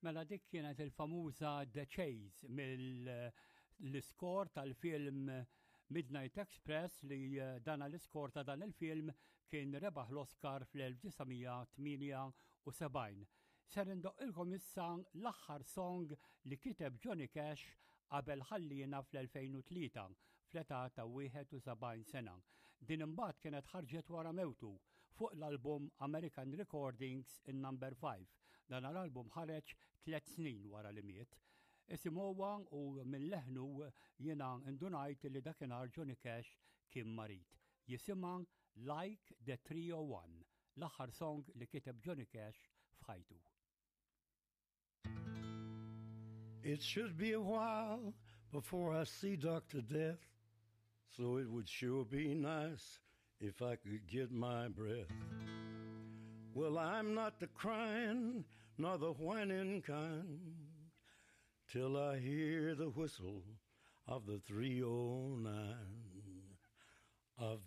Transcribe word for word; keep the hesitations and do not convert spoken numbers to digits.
Mela dik kienet il-famuża The Chase mill-iskor tal-film Midnight Express li eh, dana l-iskor ta' dan il-film kien rebaħ l-Oscar fl-elf disa' mija tmienja u sebgħin. Ser indoqqilkom issa l-aħħar song li kiteb Johnny Cash qabel ħallina fl-elfejn u tlieta fl-età ta' wieħed u sebgħin sena. Din imbagħad kienet ħarġet wara mewtu fuq l-album American Recordings in Number five. Dan l-album ħareġ tliet snin wara li miet. Isimgħuha u minn leħnu jiena indunajt li dakinhar Johnny Cash kien marid. Jisimha Like the three oh one, l-aħħar song li kiteb Johnny Cash f'ħajtu. It should be a while before I see Doctor Death, so it would sure be nice if I could get my breath. Well, I'm not the crying nor the whining kind till I hear the whistle of the three oh nine of